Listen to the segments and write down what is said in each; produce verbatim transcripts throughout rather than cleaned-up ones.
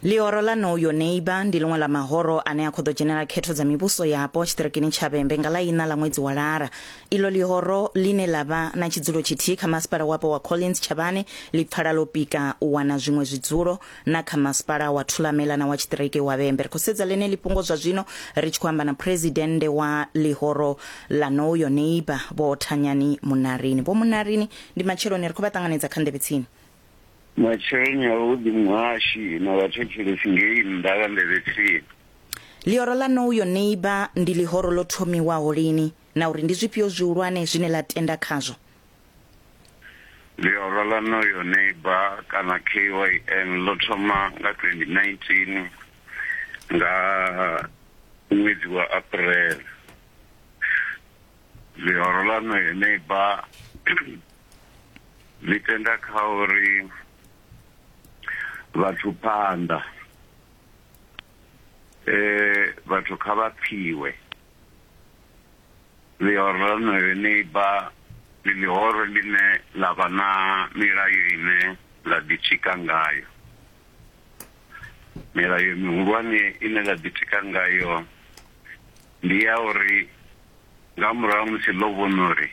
Ḽihoro ḽa Know Your Neighbour ndi ḽiṅwe ḽa mahoro ane a khou ḓo dzhenela khetho dza mivhuso yapo tshiṱirikini tsha Vhembe nga ḽa iṋa ḽa ṅwedzi wa Lara. Iḽo ḽihoro ḽine ḽa vha na tshidzulo tshithihi kha masipala wapo wa Collins Chabane ḽi pfala ḽo pika u wana zwiṅwe zwidzulo na kha masipala wa Thulamela na wa tshiṱiriki wa Vhembe. Ri khou sedza ḽeneḽi fhungo zwa zwino ri tshi khou amba na phuresidennde wa ḽihoro ḽa Know Your Neighbour Vho Thanyani Munarini. Vho Munarini, ndi matsheloni, ri khou vha ṱanganedza kha Nḓevhe Tsini. Matsheloni avhuḓi muhashi na vhathetshelesi ngei nnḓa vha Nḓevhe Tsini. Ḽihoro ḽa Know Your Neighbour ndi ḽihoro ḽo thomiwaho lini na uri ndi zwifhio zwihulwane zwine ḽa tenda khazwo? Ḽihoro ḽa Know Your Neighbour kana K Y N ḽo thoma nga twenty nineteen nga ṅwedzi wa April. Ḽihoro ḽa Know Your Neighbour ḽi tenda kha uri vhathu phanḓa eh vhathu kha vha pfiwe. Ḽihoro ḽa Know Your Neighbour ndi ḽihoro ḽine ḽa vha na milayo ine ḽa ḓitika ngayo. Milayo mihulwane ine ḽa ḓitika ngayo ndi ya uri nga murahu musi ḽo vhona uri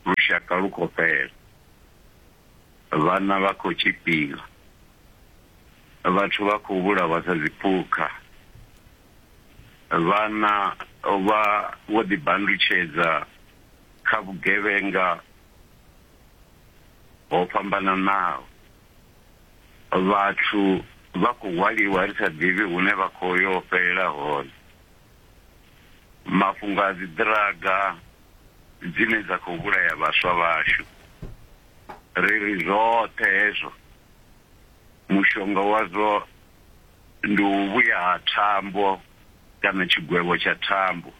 lushaka lu khou fhela, vhana vha khou tshipiwa, vhathu vha khou vhulawa sa dziphukha, vhana vha vho ḓibandutshedza kha vhugevhenga ho fhambananaho, vhathu vha khou hwaliwa ri sa ḓivhi hune vha khou yo fhelela hone, mafhungo a dzi ḓiraga dzine dza khou vhulaya vhaswa vhashu. Ri ri zwoṱhe hezwo mushonga wazwo ndi u vhuya ha thambo kana tshigwevho tsha thambo,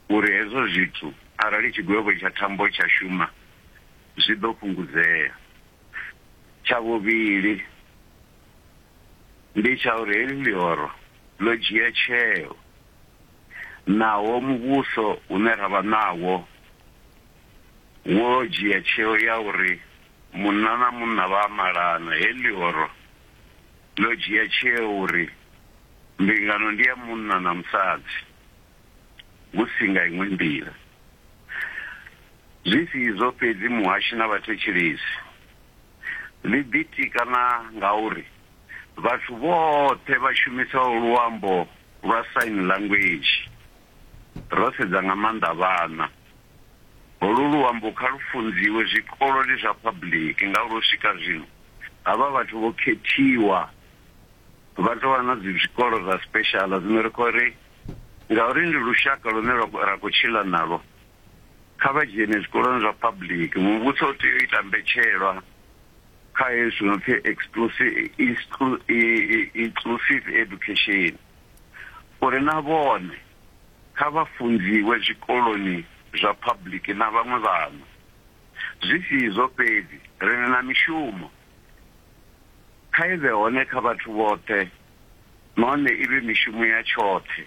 uri hezwo zwithu arali tshigwevho tsha thambo tsha shuma zwi ḓo fhungudzea. Tsha vhuvhili ndi tsha uri heḽi ḽihoro ḽo dzhia tsheo naho muvhuso une ra vha nawo wo dzhia tsheo ya uri munna na munna vha malana. Heḽi ḽihoro ḽo dzhia tsheo uri mbingano ndi ya munna na musadzi hu si nga iṅwe nḓila. Zwi si izwo fhedzi muhashi na vhathetshelesi, ḽi ḓitika na ngauri vhathu vhoṱhe vha shumisaho luambo lwa sign language, ro sedza nga maanḓa vhana, holu luambo kha lu funziwe zwikoloni zwa public, ngauri u swika zwino havha vhathu vho khethiwa vha tou vha na zwikolo zwa special. Zwino ri khou ri ngauri ndi lushaka lune ra khou tshila nalwo, kha vha dzhene zwikoloni zwa public. Muvhuso u tea u ita mbetshelwa kha hezwi no pfi inclusive education, uri na vhone kha vha funziwe zwikoloni zwa public na vhaṅwe vhana. Zwi si izwo fhedzi, ri na mishumo kha i vhe hone kha vhathu vhoṱhe, nahone i vhe mishumo ya tshoṱhe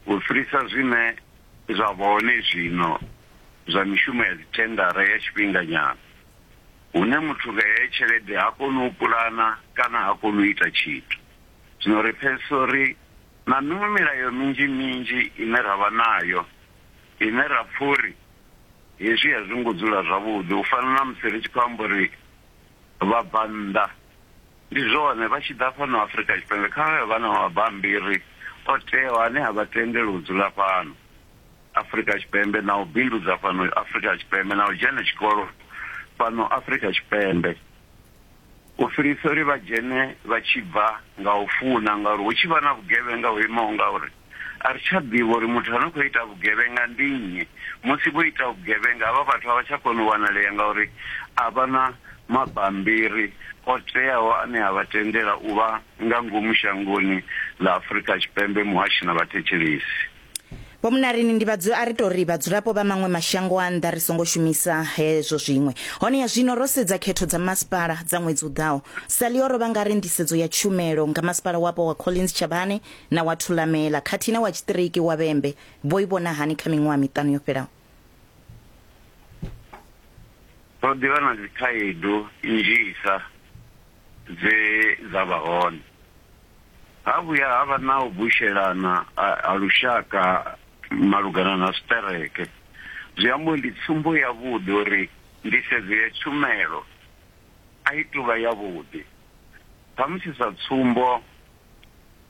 u fhirisa zwine zwa vha hone zwino zwa mishumo ya dzithendara ya tshifhinganyana, hune muthu nga heyo tshelede ha koni u pulana kana ha koni u ita tshithu. Zwino ri pfesesa uri na miṅwe milayo minzhi minzhi ine ra vha nayo ine ra pfha uri hezwi a zwi ngo dzula zwavhuḓi, u fana na musi ri tshi khou amba uri vhabvannḓa ndi zwone vha tshi ḓa fhano Afrika Tshipembe kha vha vha na mabambiri o teaho ane a vha tendela u dzula fhano Afrika Tshipembe na u bindudza fhano Afrika Tshipembe na u dzhena tshikolo fhano Afrika Tshipembe, u fhirisa uri vha dzhene vha tshi bva nga u funa, ngauri hu tshi vha na vhugevhenga ho imaho ngauri a ri tsha ḓivha uri muthu ane khou ita vhugevhenga ndi nnyi. Musi vho ita vhugevhenga havha vhathu a vha tsha kona u wanalea ngauri a vha na mabambiri o teaho ane a vha tendela u vha nga ngomu shangoni ḽa Afrika Tshipembe. Muhashi na vhathetshelesi. Vho Munarini, ndi vhadzu a ri tou ri vhadzulapo vha maṅwe mashango a nnḓa ri songo shumisa hezwo zwiṅwe. Hone ya zwino ro sedza khetho dza masipala dza ṅwedzi u ḓaho. Sa ḽihoro vha nga ri nḓisedzo ya tshumelo nga masipala wapo wa Collins Chabane na wa Thulamela khathihi na wa tshiṱiriki wa Vhembe vho i vhona hani kha miṅwaha miṱanu yo fhelaho? Ro ḓivha na dzikhaedu nnzhisa dze dza vha hone. Ha vhuya ha vha na u bushelana ha lushaka malugana na zwiṱereke, zwi amba ndi tsumbo yavhuḓi uri nḓisedzo ya tshumelo a i tou vha yavhuḓi. Khamusi sa tsumbo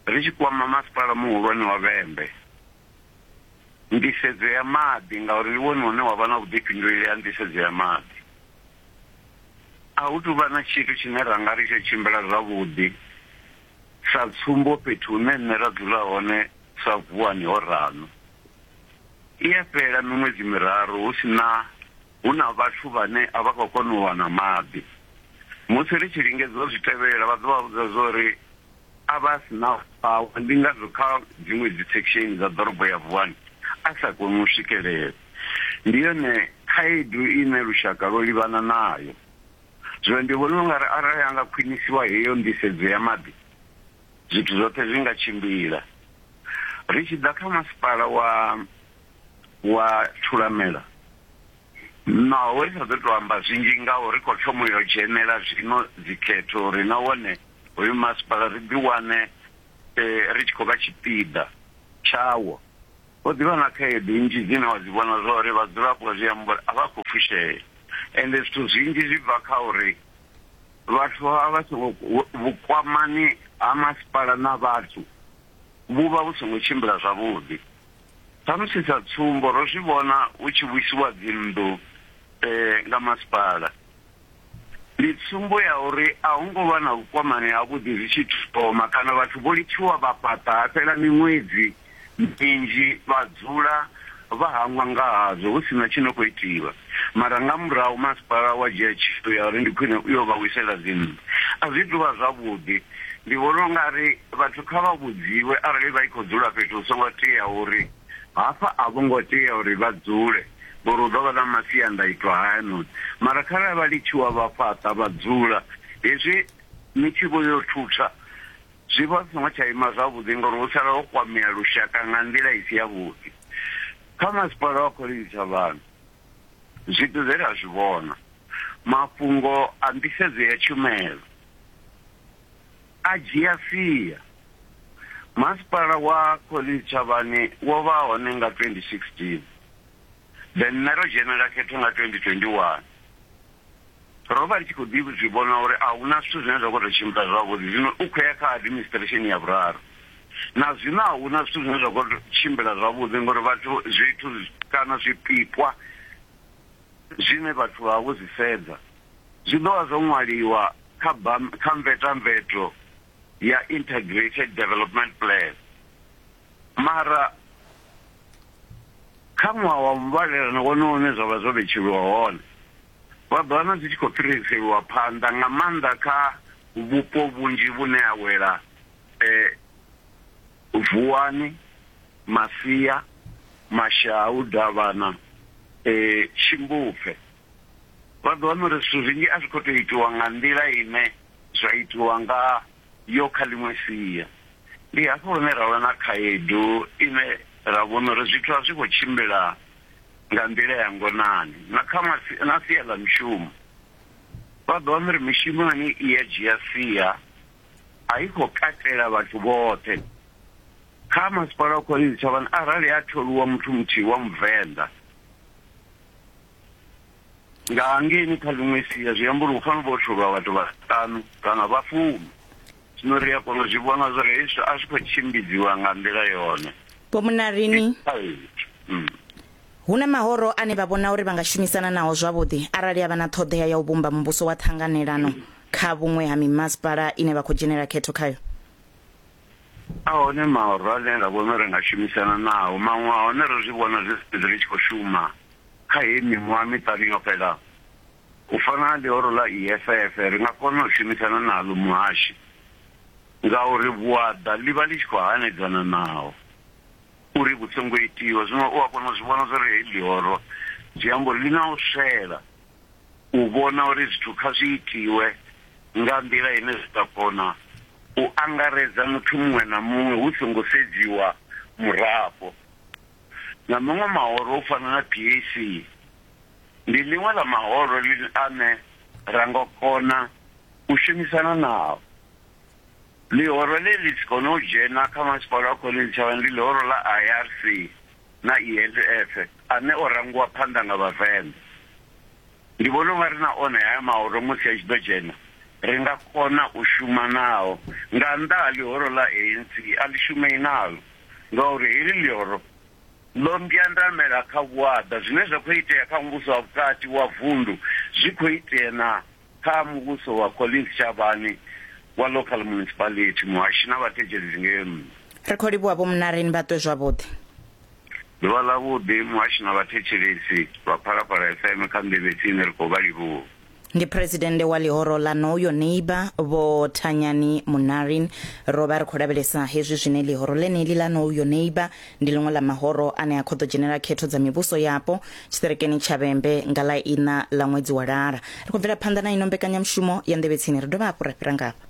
ri tshi kwama masipala muhulwane wa Vhembe, nḓisedzo ya maḓi, ngauri ndi wone une wa vha na vhuḓifhinduleli ha nḓisedzo ya maḓi, a hu tou vha na tshithu tshine ra nga ri tsho tshimbila zwavhuḓi. Sa tsumbo fhethu hune nṋe ra dzula hone sa Vuwani ho rano, i a fhela miṅwedzi miraru hu si na hu na vhathu vhane a vha khou kona u wana maḓi. Musi ri tshi lingedza u zwi tevhela vha ḓo vha vhudza zwa uri a vha si na power, ndi ngazwo kha dziṅwe dzi section dza ḓorobo ya Vuwani a sa koni u swikelela. Ndi yone khaedu ine lushaka lwo livhana nayo. Zwino ndi vhona ungari arali anga khwinisiwa heyo nḓisedzo ya maḓi, zwithu zwoṱhe zwi nga tshimbila. Ri tshi ḓa kha masipala wa wa Thulamela, naho ri sa ḓo tou amba zwinzhi ngauri ri khou thoma u yo dzhenela zwino dzikhetho, uri na wone hoyu masipala ri ḓi wane ri tshi khou vha tshipiḓa tshawo. Ho ḓivha na khaedu nnzhi dzine wa dzi vhona zwa uri vhadzulapo zwi amba uri a vha khou fushea, ende zwithu zwinzhi zwi bva kha uri vhathu a vha songo vhukwamani ha masipala na vhathu vhu vha vhu songo tshimbila zwavhuḓi. Khamusi sa tsumbo ro zwi vhona hu tshi vhuisiwa dzinnḓu nga masipala, ndi tsumbo ya uri a hu ngo vha na vhukwamani havhuḓi zwi tshi thoma, kana vhathu vho litshiwa vha fhaṱa ha fhela miṅwedzi minzhi vha dzula vha hangwa nga hazwo hu sina tshi no khou itiwa. Mara nga murahu masipala wa dzhia tsheo ya uri ndi khwine u yo vha wisela dzinnḓu. A zwi tou vha zwavhuḓi. Ndi vhona ungari vhathu kha vha vhudziwe arali vha i khou dzula fhethu hu songo tea uri hafha a vho ngo tea uri vha dzule, ngori hu ḓo vha na masiandaitwa hayanoni. Mara kharali vha litshiwa vha fhaṱa vha dzula, hezwi ni tshi vho yo thutha zwi vha zwi songo tsha ima zwavhuḓi, ngori hu sala ho kwamea lushaka nga nḓila i si yavhuḓi. Kha masipala wa Collins Chavhani, zwithu zwe ra zwi vhona, mafhungo a nḓisedzo ya tshumelo a dzhia sia. Masipala wa Collins Chavhani wo vha hone nga twenty sixteen, then nṋe ro dzhenela khetho nga twenty twenty one. Ro vha ri tshi khou ḓi zwi vhona uri a huna zwithu zwine zwa khou tou tshimbila zwavhuḓi. Zwino u khou ya kha administration ya vhuraru, na zwino a huna zwithu zwine zwa khou tshimbila zwavhuḓi, ngori vhathu zwithu kana zwipikwa zwine vhathu vha vho zwi sedza zwi ḓo vha zwo ṅwaliwa kha kha mvetamveto ya Integrated Development Plan. Mara kha ṅwaha wa muvhalelano wone une zwa vha zwo vhetshelwa hone, vha ḓo wana zwi tshi khou fhiriselwa phanḓa nga maanḓa kha vhupo vhunzhi vhune ha wela Vuwani, Masia, Mashau, Davhana, Tshimbupfe. Vha ḓo wana uri zwithu zwinzhi a zwi khou tou itiwa nga nḓila ine zwa itiwa nga yo kha ḽiṅwe sia. Ndi hafho hune ra vha na khaedu ine ra vhona uri zwithu a zwi khou tshimbila nga nḓila ya ngonani. Na kha na sia ḽa mishumo, vha ḓo wana uri mishumo yone i ya dzhia sia, a i khou katela vhathu vhoṱhe. Kha masipala wa Collins Chavhani, arali a tholiwa muthu muthihi wa Muvenḓa nga hangeini kha ḽiṅwe sia, zwi amba uri hu fanela u vha ho tholiwa vhathu vhaṱanu kana vha fumi. Zwino ri a kona u zwi vhona zwa uri hezwi a zwi khou tshimbidziwa nga nḓila yone. Vho Munarini, hu na mahoro ane vha vhona uri vha nga shumisana nao zwavhuḓi arali a vha na ṱhoḓea ya u vhumba muvhuso wa ṱhanganelano kha vhuṅwe ha mimasipala ine vha khou dzhenela khetho khayo? A hone mahoro ane ra vhona uri nga shumisana nao, maṅwe a hone ro zwi vhona zwi ri tshi khou shuma kha heyi miṅwaha miṱanu yo fhelaho. U fana na ḽihoro ḽa E F F, ri nga kona u shumisana naḽo muhashi, ngauri vhuaḓa ḽi vha ḽi tshi khou hanedzana naho uri vhu songo itiwa. Zwino u a kona u zwi vhona zwa uri heyi ḽihoro zwi amba uri ḽi na u swela u vhona uri zwithu kha zwi itiwe nga nḓila ine zwi ḓo kona u angaredza muthu muṅwe na muṅwe hu songo sedziwa murafho. Na maṅwe mahoro u fana na P A C, ndi ḽiṅwe ḽa mahoro ane ra nga kona u shumisana nao. Ḽihoro ḽe ḽi si kone u dzhena kha masipala wa Collins Chabane ndi ḽihoro ḽa I R C na E F F ane o rangiwa phanḓa nga Vhavenḓa. Ndi vhona unga ri na one haya mahoro musi a tshi ḓo dzhena ri nga kona u shuma nao, nga nnḓa ha ḽihoro ḽa A N C a ḽi shumei nalo, ngauri heḽi ḽihoro ḽo mbyandamela kha vhuaḓa. Zwine zwa khou itea kha muvhuso wa vhukati wa vundu zwi khou itea na kha muvhuso wa Collins Chabane wa local municipality. Muhashi na vhathetshelesi ngei nnḓa. Ri khou livhuwa Vho Munarini, vha ṱwe zwavhuḓi. Ḓuvha ḽavhuḓi muhashi na vhathetshelesi vha Phalaphala F M kha nḓevhe tsini, ri khou vha livhuwa. Ndi presidennde wa ḽihoro ḽa Know Your Neighbour Vho Thanyani Munarini. Ro vha ri khou lavhelesa hezwi zwine ḽihoro ḽeneḽi ḽa Know Your Neighbour ndi ḽiṅwe ḽa mahoro ane a khou ḓo dzhenela khetho dza mivhuso yapo tshiṱerekeni tsha Vhembe nga ḽa iṋa ḽa ṅwedzi wa Lara. Ri khou bvela phanḓa na ino mbekanyamushumo ya nḓevhe tsini, ri dovha hafhu ra fhira ngafha.